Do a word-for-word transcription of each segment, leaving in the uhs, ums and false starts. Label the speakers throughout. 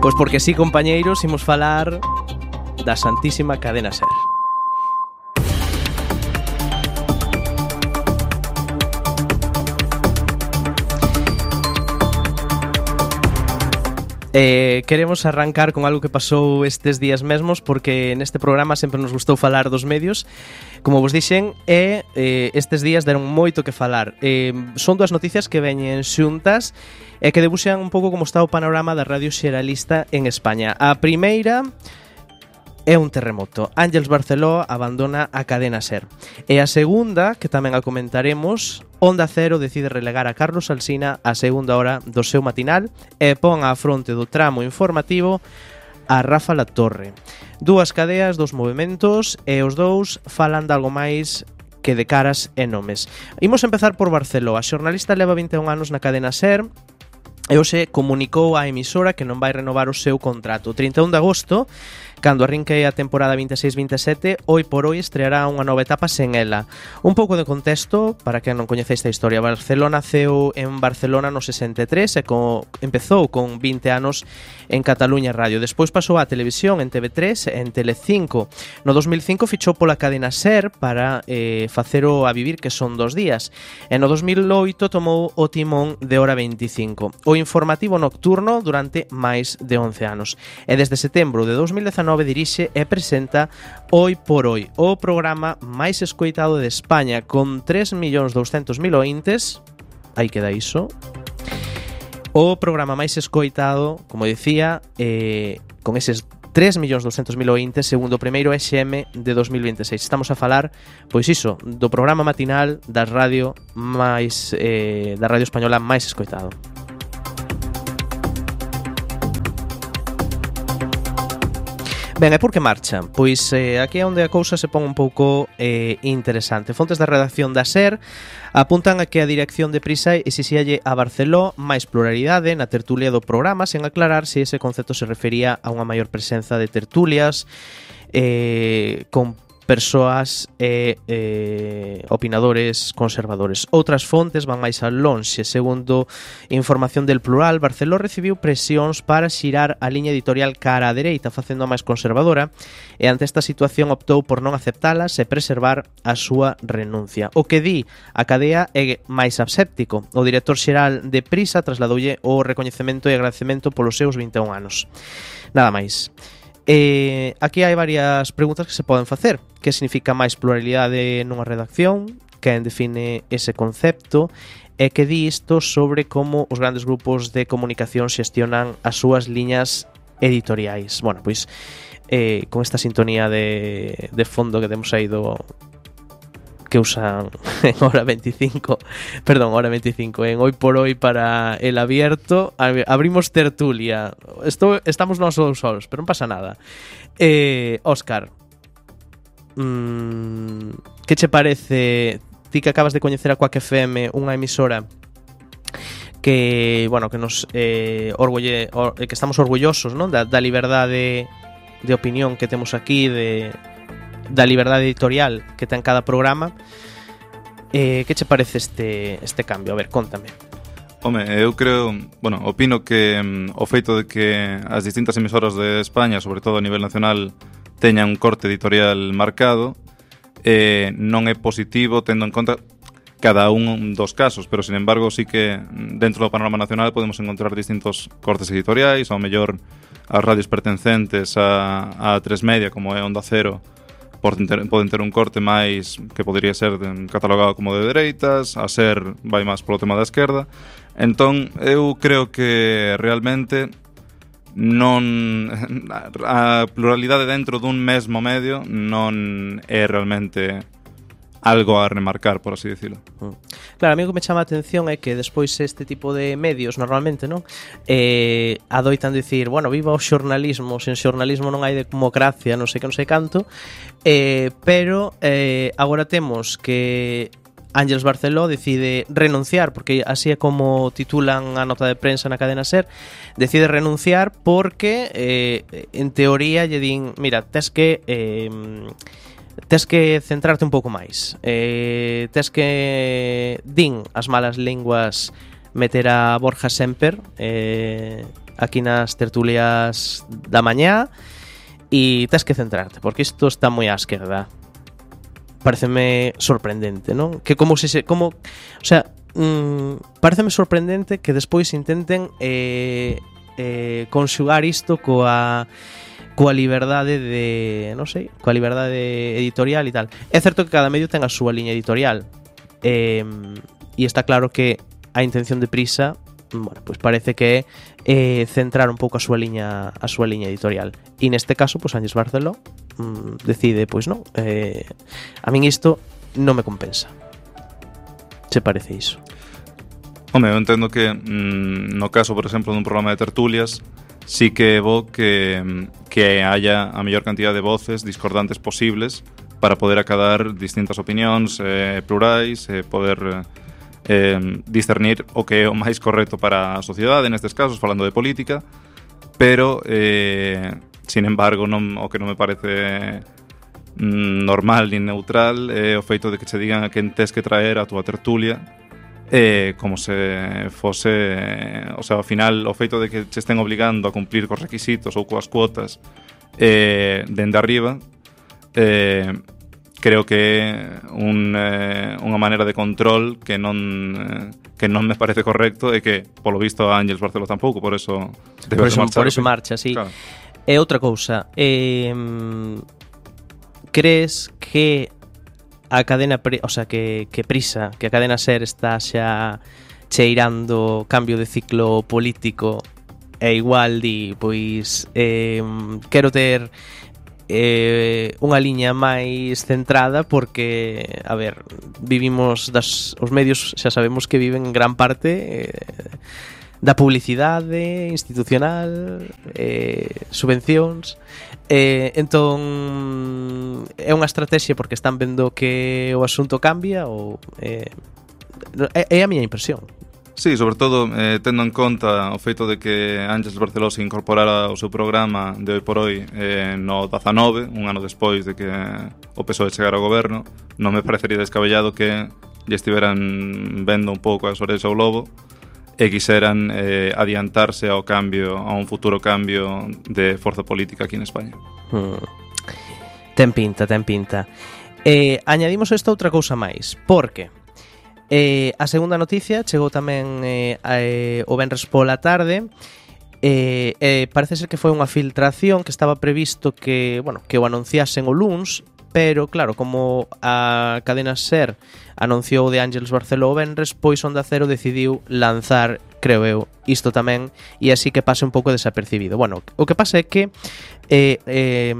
Speaker 1: Pois porque sí, compañeiros, imos falar da Santísima Cadena Ser. Eh, queremos arrancar con algo que pasou estes días mesmos, porque neste programa sempre nos gustou falar dos medios, como vos dixen, e eh, estes días deron moito que falar. Eh, son dúas noticias que veñen xuntas e que debuxan un pouco como está o panorama da radio xeralista en España. A primeira é un terremoto. Ángeles Barceló abandona a Cadena Ser. E a segunda, que tamén a comentaremos, Onda Cero decide relegar a Carlos Alsina a segunda hora do seu matinal e pon á fronte do tramo informativo a Rafa Latorre. Dúas cadeas, dos movementos, e os dous falan de algo máis que de caras e nomes. Imos empezar por Barceló. A xornalista leva vinte e un anos na Cadena Ser e hoxe comunicou á emisora que non vai renovar o seu contrato. O trinta e un de agosto, cando arrinque a temporada vinte e seis vinte e sete, Hoy por Hoy estreará unha nova etapa sen ela. Un pouco de contexto, para quen non coñece esta historia. Barcelona naceu en Barcelona no sesenta e tres e co, empezou con vinte anos en Cataluña Radio. Despois pasou á televisión en T V tres e en Telecinco. No dos mil cinco fichou pola Cadena Ser para eh, facer o A Vivir, que son dos días. E no dos mil oito tomou o timón de Hora veinticinco, o informativo nocturno, durante máis de once anos. E desde setembro de dos mil dezanove dirixe e presenta Hoy por Hoy, o programa máis escoitado de España, con tres millóns douscentos mil ointes. Aí queda iso. O programa máis escoitado, como dicía, eh, con eses tres millóns douscentos mil ointes, segundo o primeiro E X M de dos mil vinte e seis. Estamos a falar, pois iso, do programa matinal da radio máis eh, da radio española máis escoitado. Ben, e por que marcha? Pois eh, aquí é onde a cousa se pon un pouco eh, interesante. Fontes da redacción da SER apuntan a que a dirección de Prisa exixíalle a Barceló máis pluralidade na tertulia do programa, sen aclarar se ese concepto se refería a unha maior presenza de tertulias eh, con persoas e eh, opinadores conservadores. Outras fontes van máis al lonxe. Segundo información del Plural, Barceló recibiu presións para xirar a liña editorial cara á dereita, facendo máis conservadora, e ante esta situación optou por non aceptalas e preservar a súa renuncia. O que di a cadea é máis aséptico. O director xeral de Prisa trasladoulle o recoñecemento e agradecemento polos seus vinte e un anos. Nada máis. Eh, aquí hai varias preguntas que se poden facer. Que significa máis pluralidade nunha redacción? Quen define ese concepto? E que di isto sobre como os grandes grupos de comunicación xestionan as súas liñas editoriais? Bueno, pois eh, con esta sintonía de, de fondo que temos aí do que usan en Hora veinticinco, perdón, Hora veinticinco, en Hoy por Hoy para el abierto, abrimos tertulia. Esto, estamos nós solos, pero non pasa nada. Eh, Óscar, mmm, que che parece, ti que acabas de coñecer a Quack F M, unha emisora que, bueno, que nos eh, orgulle, or, que estamos orgullosos, non? Da, da liberdade de opinión que temos aquí, de da liberdade editorial que ten cada programa. Eh, que che parece este, este cambio? A ver, contame.
Speaker 2: Home, eu creo, bueno, opino que um, o feito de que as distintas emisoras de España, sobre todo a nivel nacional, teñan un corte editorial marcado, eh, non é positivo tendo en conta cada un dos casos, pero sin embargo sí que dentro do panorama nacional podemos encontrar distintos cortes editoriais, ao mellor as radios pertencentes a, a tres Media, como é Onda Cero, poden ter, poden ter un corte máis que podría ser catalogado como de dereitas, a SER vai máis polo tema da esquerda. Entón, eu creo que realmente non a pluralidade dentro dun mesmo medio non é realmente algo a remarcar, por así decirlo.
Speaker 1: Claro, a mí o que me chama a atención é que despois este tipo de medios normalmente, non? Eh, adoitan dicir, bueno, viva o xornalismo, sen xornalismo non hai democracia, non sei que, non sei canto, eh, pero eh, agora temos que Ángeles Barceló decide renunciar, porque así é como titulan a nota de prensa na Cadena Ser, decide renunciar porque eh, en teoría lle din, mira, tes que eh, tes que centrarte un pouco máis, eh, tes que din as malas linguas meter a Borja Semper eh, aquí nas tertulias da mañá e tes que centrarte, porque isto está moi á esquerda. Pareceme sorprendente, non? Que como se... se como, o sea, mm, pareceme sorprendente que despois intenten eh, eh, conxugar isto coa... coa liberdade de, non sei, coa liberdade editorial e tal. É certo que cada medio ten a súa liña editorial. Eh, e está claro que a intención de Prisa, bueno, pues parece que é eh, centrar un pouco a súa liña a súa liña editorial. E neste caso, pues Ángeles Barceló mm, decide, pois pues non, eh, a min isto non me compensa. Se parece iso?
Speaker 2: Home, eu entendo que mm, no caso, por exemplo, dun programa de tertulias, sí que é bo que, que haya a mellor cantidad de voces discordantes posibles para poder acadar distintas opinións eh, plurais, eh, poder eh, discernir o que é o máis correcto para a sociedade, nestes casos, falando de política, pero, eh, sin embargo, non, o que non me parece mm, normal ni neutral é o feito de que che digan a quen tes que traer a túa tertulia, Eh, como se fose, o sea, ao final o feito de que se estén obligando a cumplir cos requisitos ou coas cuotas eh, dende arriba, eh, creo que é un, eh, unha maneira de control que non eh, que non me parece correcto e que, polo visto, a Ángeles Barceló tampouco, por eso
Speaker 1: por eso, por eso marcha, sí.
Speaker 2: Claro.
Speaker 1: E outra cousa, eh, crees que a cadena, o sea, que, que Prisa, que a cadena SER está xa cheirando cambio de ciclo político e igual di, pois eh, quero ter eh, unha liña máis centrada porque, a ver, vivimos das, os medios xa sabemos que viven en gran parte eh, da publicidade institucional, eh, subvencións. Eh, entón é unha estrategia porque están vendo que o asunto cambia ou eh, é, é a miña impresión.
Speaker 2: Sí, sobre todo eh, tendo en conta o feito de que Ángeles Barceló se incorporara ao seu programa de Hoy por Hoy eh, no dezanove, un ano despois de que o P S O E chegara ao goberno, non me parecería descabellado que lle estiveran vendo un pouco as orellas ao lobo e quixeran eh, adiantarse ao cambio, a un futuro cambio de forza política aquí en España.
Speaker 1: Hmm. Ten pinta, ten pinta. Eh, añadimos esta outra cousa máis, porque eh, a segunda noticia chegou tamén eh, a, eh, o venres pola tarde. Eh, eh, parece ser que foi unha filtración que estaba previsto que, bueno, que o anunciasen o luns, pero claro, como a cadena SER anunciou de Ángeles Barceló o venres, pois Onda Cero decidiu lanzar, creo eu, isto tamén, e así que pase un pouco desapercibido. Bueno, o que pasa é que eh, eh,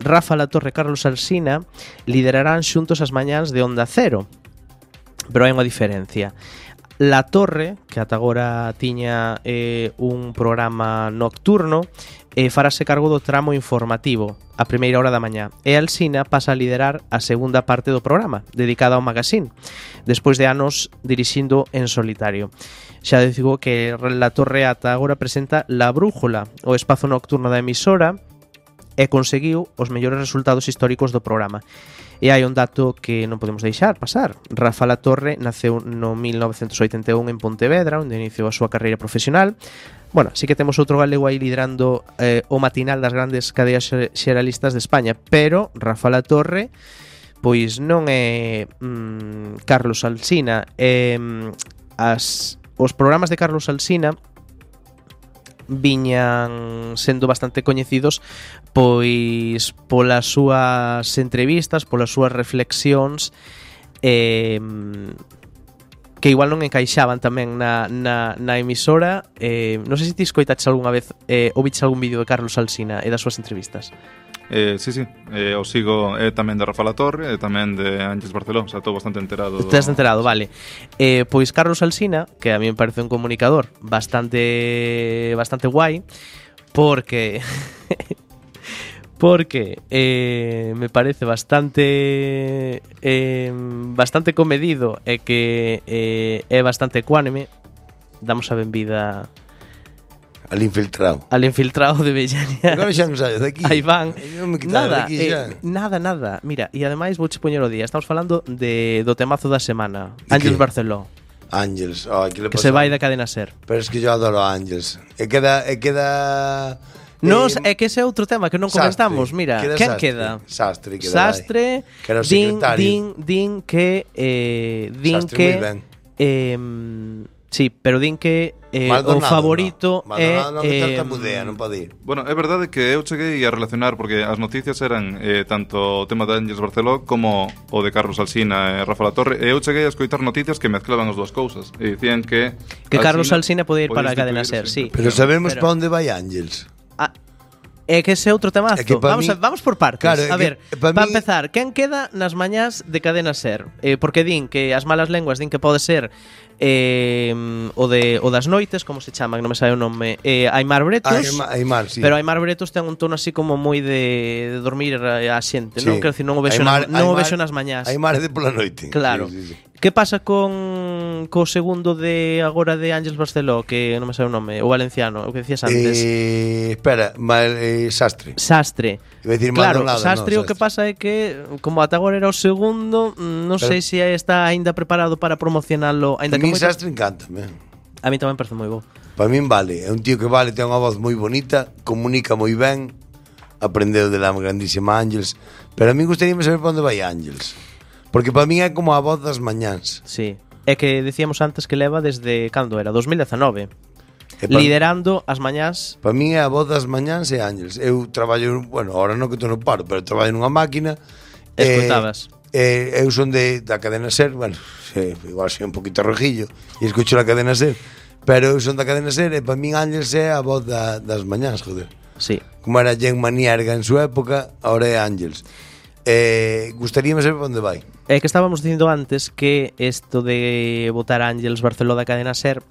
Speaker 1: Rafa Latorre e Carlos Alsina liderarán xuntos as mañáns de Onda Cero, pero hai unha diferencia. La Torre, que ata agora tiña eh, un programa nocturno, eh, farase cargo do tramo informativo a primeira hora da mañá, e Alsina pasa a liderar a segunda parte do programa, dedicada ao magazine, despois de anos dirixindo en solitario. Xa digo que La Torre ata agora presenta La Brújula, o espazo nocturno da emisora, e conseguiu os mellores resultados históricos do programa. E hai un dato que non podemos deixar pasar. Rafa Latorre naceu no mil novecentos oitenta e un en Pontevedra, onde iniciou a súa carreira profesional. Bueno, sí que temos outro galego aí liderando eh, o matinal das grandes cadeas xeralistas de España, pero Rafa Latorre pois non é mm, Carlos Alsina. Eh, as, os programas de Carlos Alsina viñan sendo bastante coñecidos pois polas súas entrevistas, polas súas reflexións eh, que igual non encaixaban tamén na, na, na emisora. eh, non sei se ti escoitaches algunha vez eh, ou viches algún vídeo de Carlos Alsina e das súas entrevistas.
Speaker 2: Eh, sí, sí, eh, o sigo é tamén de Rafa Latorre e tamén de Ángeles Barceló, o sea, estou bastante enterado.
Speaker 1: Estás enterado, vale. Eh, pois Carlos Alsina, que a mí me parece un comunicador bastante bastante guai, porque porque eh, me parece bastante eh, bastante comedido e que eh, é bastante ecuánime. Damos a benvida
Speaker 3: al infiltrado.
Speaker 1: Al infiltrado de Bellania.
Speaker 3: Agora xa non sabes daqui.
Speaker 1: Aí van.
Speaker 3: Non me
Speaker 1: nada,
Speaker 3: daqui,
Speaker 1: eh, nada, nada. Mira, e ademais vouche poñer o día. Estamos falando de do temazo da semana. Ángeles Barceló.
Speaker 3: Ángels, oh, que,
Speaker 1: que se vai da cadena SER.
Speaker 3: Pero es que yo adoro a Ángels. E queda... E queda
Speaker 1: Nos,
Speaker 3: eh,
Speaker 1: é que ese é outro tema que non comentamos. Mira,
Speaker 3: queda
Speaker 1: quen
Speaker 3: Sastre,
Speaker 1: queda?
Speaker 3: Sastre, queda
Speaker 1: Sastre,
Speaker 3: que era o
Speaker 1: din,
Speaker 3: secretario.
Speaker 1: din, din que eh, din
Speaker 3: Sastre
Speaker 1: que
Speaker 3: moi ben.
Speaker 1: eh, sí, pero din que eh, o favorito
Speaker 3: no.
Speaker 1: é
Speaker 3: Maldonado non que
Speaker 1: eh,
Speaker 3: tartamudea, non pode ir.
Speaker 2: Bueno, é verdade que eu cheguei a relacionar porque as noticias eran eh, tanto o tema de Ángels Barceló como o de Carlos Alsina e Rafa Latorre, e eu cheguei a escoitar noticias que mezclaban as dúas cousas e dicían que
Speaker 1: que Carlos Alsina pode ir para a cadena SER, sí.
Speaker 3: Pero sabemos
Speaker 1: Pero-
Speaker 3: para onde vai Ángels.
Speaker 1: Ah, é que ese é outro temazo.
Speaker 3: É que pa
Speaker 1: vamos,
Speaker 3: mí-
Speaker 1: a, vamos por partes.
Speaker 3: Claro, é
Speaker 1: a ver,
Speaker 3: que pa
Speaker 1: para
Speaker 3: mí-
Speaker 1: empezar, quen queda nas mañás de cadena SER? Eh, porque din que as malas lenguas din que pode ser eh, o, de, o das noites, como se chaman, non me sabe o nome, eh, Aimar Bretos.
Speaker 3: Aimar, Aimar, sí.
Speaker 1: Pero Aimar Bretos ten un tono así como moi de, de dormir a, a xente,
Speaker 3: Sí.
Speaker 1: non? Quero dicir, non o vexo,
Speaker 3: Aimar-
Speaker 1: na, non o
Speaker 3: Aimar-
Speaker 1: vexo nas mañás.
Speaker 3: Aimar é de pola noite.
Speaker 1: Claro.
Speaker 3: Sí, sí, sí.
Speaker 1: Que pasa con co segundo de agora de Ángels Barceló, que non me sabe o nome, o valenciano, o que decías antes?
Speaker 3: Eh, espera, mal, eh, Sastre.
Speaker 1: Sastre.
Speaker 3: Iba a decir
Speaker 1: Claro,
Speaker 3: Maldonado,
Speaker 1: Sastre
Speaker 3: no,
Speaker 1: o que pasa é que como ata agora era o segundo, mm, non
Speaker 3: Pero-
Speaker 1: sei se está aínda preparado para promocionalo,
Speaker 3: A
Speaker 1: aínda que
Speaker 3: mí
Speaker 1: moito-
Speaker 3: Sastre encántame.
Speaker 1: A mí tamén parece moi bo.
Speaker 3: Para min vale, é un tío que vale, ten unha voz moi bonita, comunica moi ben, aprendeu de la grandísima Ángels, pero a mí gustaríame saber para onde vai Ángels. Porque para min é como a voz das mañáns.
Speaker 1: Sí. É que decíamos antes que leva desde cando era, dos mil dezenove,
Speaker 3: E pa-
Speaker 1: liderando as mañás.
Speaker 3: Para min é a voz das mañáns e Ángels. Eu traballo, bueno, ahora non que estou no paro, pero traballo nunha máquina.
Speaker 1: Escoitabas.
Speaker 3: Eh, eu son de, da cadena SER, bueno, sí, igual soy un poquito rojillo e escucho la cadena SER, pero eu son da cadena SER e para min Ángels é a voz da, das mañás, joder.
Speaker 1: Sí.
Speaker 3: Como era Jen Manierga en su época, ahora é Ángels. Eh, gustaríame saber para onde vai.
Speaker 1: É que estábamos dicindo antes que isto de votar a Ángels Barceló da cadena SER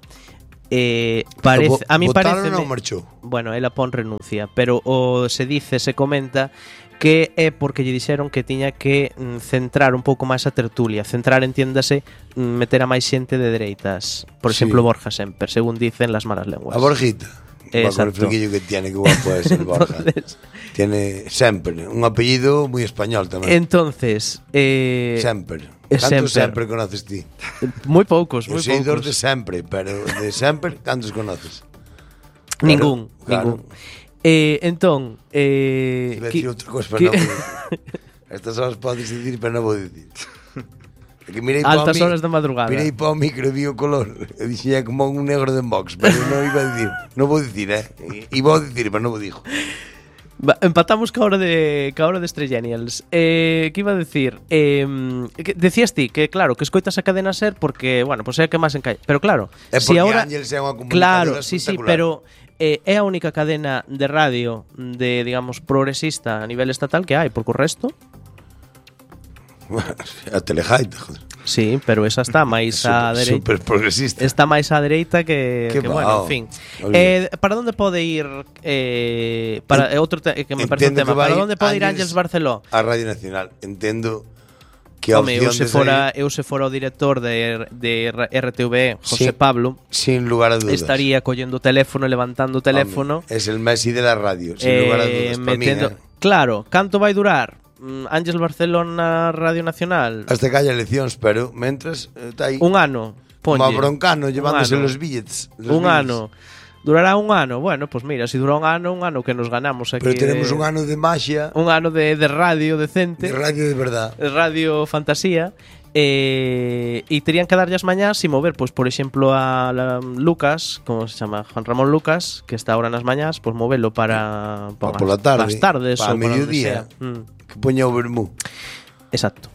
Speaker 1: eh, parece, a mí
Speaker 3: Votaron
Speaker 1: parece
Speaker 3: ou marchou?
Speaker 1: bueno, ela pon renuncia, pero o se dice, se comenta que é porque lle dixeron que tiña que mm, centrar un pouco máis a tertulia, centrar, entiéndase, mm, meter a máis xente de dereitas, por
Speaker 3: Sí.
Speaker 1: exemplo Borja Semper, según dicen las malas lenguas.
Speaker 3: A Borjita. Va, con el
Speaker 1: Exacto.
Speaker 3: flequillo que tiene, que guapo es el Borja.
Speaker 1: Entonces-
Speaker 3: Tiene Semper, un apellido muy español tamén.
Speaker 1: Entonces, eh,
Speaker 3: Semper.
Speaker 1: eh,
Speaker 3: Cantos
Speaker 1: Semper.
Speaker 3: Semper conoces ti?
Speaker 1: moi poucos,
Speaker 3: Eu
Speaker 1: moi
Speaker 3: sei dos
Speaker 1: poucos.
Speaker 3: de sempre, pero de Semper, cantos conoces?
Speaker 1: Ningún,
Speaker 3: Claro.
Speaker 1: ningún. Eh, entón, eh,
Speaker 3: Iba a
Speaker 1: qui-
Speaker 3: decir outra cosa, pero
Speaker 1: qui-
Speaker 3: non vou dicir. Estas horas podes dicir, pero non vou dicir. É que mirei
Speaker 1: Altas
Speaker 3: pa mi-
Speaker 1: horas de madrugada.
Speaker 3: Mirei para o micro e vi o color. Eu dixía como un negro de Vox, pero non iba a dicir. Non vou dicir, eh? E vou dicir, pero non vou dixo.
Speaker 1: Va, empatamos ca hora de ca hora de Estrellenials. Eh, que iba a decir? Eh, que decías ti que claro, que escoitas a cadena SER porque, bueno, pois pues é a que máis encai. Pero claro,
Speaker 3: É
Speaker 1: si
Speaker 3: porque
Speaker 1: ahora
Speaker 3: Ángels é unha comunicadora
Speaker 1: claro, sí, sí,
Speaker 3: espectacular.
Speaker 1: pero eh, é a única cadena de radio de, digamos, progresista a nivel estatal que hai, porque o resto
Speaker 3: A Telejaita, joder.
Speaker 1: sí, pero esa está máis a
Speaker 3: Super,
Speaker 1: dereita.
Speaker 3: super progresista.
Speaker 1: Está máis á dereita que,
Speaker 3: Que
Speaker 1: que
Speaker 3: bao.
Speaker 1: bueno, en fin.
Speaker 3: Olvídate.
Speaker 1: Eh, para onde pode ir eh, para eh, outro te, que me parece un
Speaker 3: Entendo
Speaker 1: tema.
Speaker 3: que vai
Speaker 1: Para onde pode ir
Speaker 3: Ángels
Speaker 1: Ángels Barceló?
Speaker 3: A Radio Nacional. Entendo que a
Speaker 1: Home, eu
Speaker 3: opción
Speaker 1: se
Speaker 3: de
Speaker 1: fora,
Speaker 3: sair,
Speaker 1: eu se fora o director de, de R T V, José
Speaker 3: Sí.
Speaker 1: Pablo,
Speaker 3: sin lugar a dudas.
Speaker 1: estaría collendo o teléfono, levantando o teléfono,
Speaker 3: Home, es el Messi de la radio, sin
Speaker 1: eh,
Speaker 3: lugar a dudas. Pa min,
Speaker 1: metendo,
Speaker 3: eh.
Speaker 1: claro, canto vai durar? Mm, Ángels Barcelona Radio Nacional?
Speaker 3: Hasta que haya eleccións, pero mentras está aí
Speaker 1: Un ano,
Speaker 3: como
Speaker 1: ponlle.
Speaker 3: a Broncano llevándose
Speaker 1: Un ano.
Speaker 3: los billets. los
Speaker 1: Un
Speaker 3: billets.
Speaker 1: ano. Durará un ano. Bueno, pues mira, si dura un ano, un ano que nos ganamos aquí.
Speaker 3: Pero tenemos
Speaker 1: de-
Speaker 3: un ano de magia,
Speaker 1: un ano de, de radio decente,
Speaker 3: de radio de verdad.
Speaker 1: de radio fantasía. Eh, e terían que darlle as mañás e mover, pois, por exemplo, a la, Lucas, como se chama, Juan Ramón Lucas, que está ahora nas mañás, pois movelo para,
Speaker 3: Pa pola tarde,
Speaker 1: as tardes
Speaker 3: pa
Speaker 1: ou para onde
Speaker 3: mediodía.
Speaker 1: sea. Mm.
Speaker 3: Que poña o vermú.
Speaker 1: Exacto.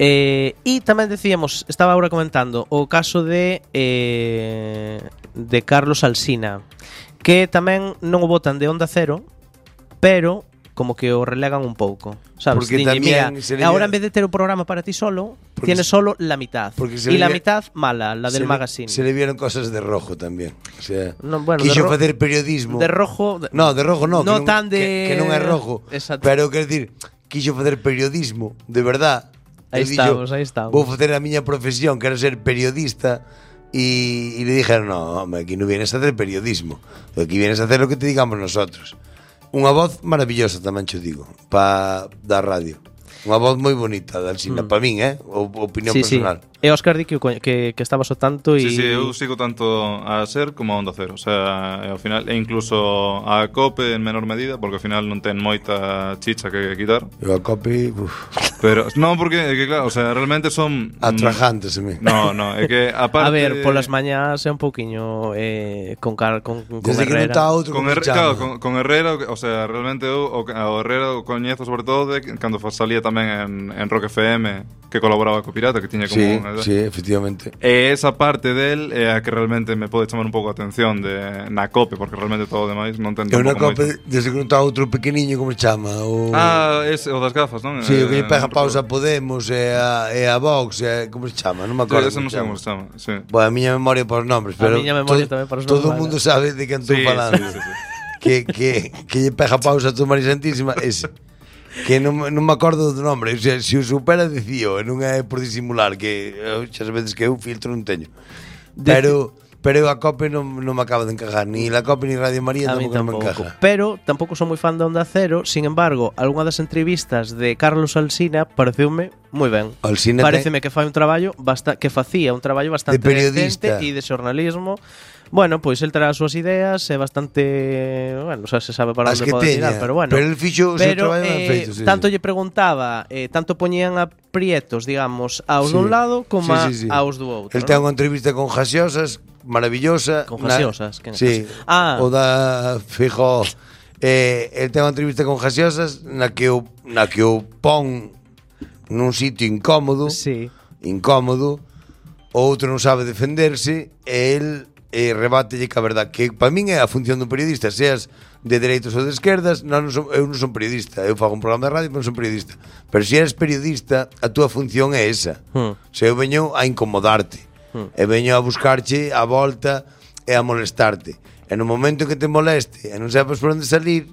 Speaker 1: Eh, e tamén decíamos, estaba agora comentando o caso de eh, de Carlos Alsina, que tamén non o botan de Onda Cero, pero como que o relegan un pouco, sabes?
Speaker 3: Porque
Speaker 1: Diñe, mira,
Speaker 3: tamén sería-
Speaker 1: ahora en vez de ter o programa para ti solo,
Speaker 3: Porque
Speaker 1: tienes
Speaker 3: se-
Speaker 1: solo la mitad.
Speaker 3: porque se
Speaker 1: Y la
Speaker 3: le-
Speaker 1: mitad mala, la del
Speaker 3: se
Speaker 1: magazine.
Speaker 3: Le, se le vieron cosas de rojo tamén. O sea,
Speaker 1: No, bueno, de
Speaker 3: quixo
Speaker 1: ro-
Speaker 3: facer periodismo.
Speaker 1: De rojo, de-
Speaker 3: No, de rojo no,
Speaker 1: no
Speaker 3: que non,
Speaker 1: tan de
Speaker 3: que, que non é rojo.
Speaker 1: Exacto.
Speaker 3: Pero quer decir, quixo facer periodismo, de verdad.
Speaker 1: Aí
Speaker 3: El
Speaker 1: estamos,
Speaker 3: dixo,
Speaker 1: aí estamos.
Speaker 3: Vou facer a miña profesión, quero ser periodista. Y, y le dijeron, no, hombre, aquí no vienes a hacer periodismo. Aquí vienes a hacer lo que te digamos nosotros. Unha voz maravillosa tamén cho digo, pa da radio. Unha voz moi bonita da Alsina,
Speaker 1: Mm.
Speaker 3: para min, eh, o, opinión
Speaker 1: Sí, sí.
Speaker 3: personal.
Speaker 1: E Óscar di que, que, que estabas ao tanto e...
Speaker 2: Sí, sí, eu sigo tanto a SER como a Onda Cero. O sea, ao final, e incluso a COPE en menor medida, porque ao final non ten moita chicha que quitar.
Speaker 3: Eu a COPE, uf.
Speaker 2: Pero, non, porque, é que claro, o sea, realmente son...
Speaker 3: Atrajantes, a mí.
Speaker 2: No, no, é que aparte...
Speaker 1: A ver, polas mañás é un pouquiño eh, con, car, con, con
Speaker 3: Desde que non
Speaker 1: Herrera.
Speaker 3: está outro,
Speaker 2: Con,
Speaker 3: como
Speaker 2: Her
Speaker 3: se
Speaker 2: claro,
Speaker 3: chama?
Speaker 2: con, con Herrera, o sea, realmente eu o, o Herrera o coñezo sobre todo de cando salía tamén en, en Rock F M, que colaboraba co Pirata, que tiña como...
Speaker 3: Sí,
Speaker 2: unha,
Speaker 3: sí, efectivamente.
Speaker 2: E esa parte del é a que realmente me pode chamar un pouco a atención de, na COPE, porque realmente todo o demais non ten
Speaker 3: Eu na
Speaker 2: tampouco
Speaker 3: COPE,
Speaker 2: moito.
Speaker 3: desde que non está outro pequeniño, como se chama? O...
Speaker 2: Ah, ese, o das gafas, non?
Speaker 3: Sí, o que lle
Speaker 2: Eh,
Speaker 3: pega
Speaker 2: non
Speaker 3: pausa a
Speaker 2: recordo.
Speaker 3: Podemos e a, e a Vox, e a, como se chama? Non me acordo.
Speaker 2: Sí, ese non sei como se chama, sí.
Speaker 3: Bueno, a miña memoria para os nombres,
Speaker 1: A
Speaker 3: pero
Speaker 1: miña memoria
Speaker 3: todo,
Speaker 1: tamén para os
Speaker 3: todo o
Speaker 1: nombres,
Speaker 3: mundo
Speaker 1: vale.
Speaker 3: sabe de quen estou
Speaker 2: Sí,
Speaker 3: falando.
Speaker 2: sí, sí, sí.
Speaker 3: Que, que, que lle pega pausa a tu María Santísima, ese. Que non, non me acordo do nome. O sea, se o supera, dicío, e non é por disimular, que eu, xa veces que eu filtro non teño. Pero... Pero eu a COPE non, non me acaba de encajar. Ni la COPE ni Radio María
Speaker 1: A mí
Speaker 3: tampouco me
Speaker 1: tampouco.
Speaker 3: encaja.
Speaker 1: Pero tampouco son moi fan de Onda Cero. Sin embargo, algunha das entrevistas de Carlos Alsina pareceume moi ben.
Speaker 3: Alsina
Speaker 1: Pareceme que fai un traballo basta que facía un traballo bastante
Speaker 3: De periodista.
Speaker 1: decente e de xornalismo. Bueno, pois el terá as súas ideas, é bastante, bueno, xa se sabe para
Speaker 3: As
Speaker 1: onde
Speaker 3: que
Speaker 1: pode
Speaker 3: teña,
Speaker 1: tirar, pero bueno.
Speaker 3: pero el fixo o seu
Speaker 1: Pero,
Speaker 3: traballo ben
Speaker 1: eh,
Speaker 3: feito, sí,
Speaker 1: tanto
Speaker 3: sí.
Speaker 1: lle preguntaba, eh, tanto poñían a prietos, digamos, aos
Speaker 3: Sí.
Speaker 1: dun lado como
Speaker 3: Sí,
Speaker 1: a,
Speaker 3: sí, sí.
Speaker 1: aos do outro.
Speaker 3: El
Speaker 1: ¿no?
Speaker 3: ten unha entrevista con Jasiosas maravillosa.
Speaker 1: Con
Speaker 3: na-
Speaker 1: Jasiosas, quen é
Speaker 3: Sí.
Speaker 1: Jasiosas? Ah.
Speaker 3: O da Fijo. Eh, el ten unha entrevista con Jasiosas na que o na que o pon nun sitio incómodo,
Speaker 1: Sí.
Speaker 3: incómodo. O outro non sabe defenderse e el eh, rebátelle que a verdad que para min é a función do periodista, seas de dereitos ou de esquerdas. Non, non son, eu non son periodista, eu fago un programa de radio, pero non son periodista. Pero se eres periodista, a túa función é esa.
Speaker 1: Hmm.
Speaker 3: Se eu veño a incomodarte,
Speaker 1: Hmm.
Speaker 3: e veño a buscarche a volta e a molestarte. E no momento en que te moleste e non sepas por onde salir,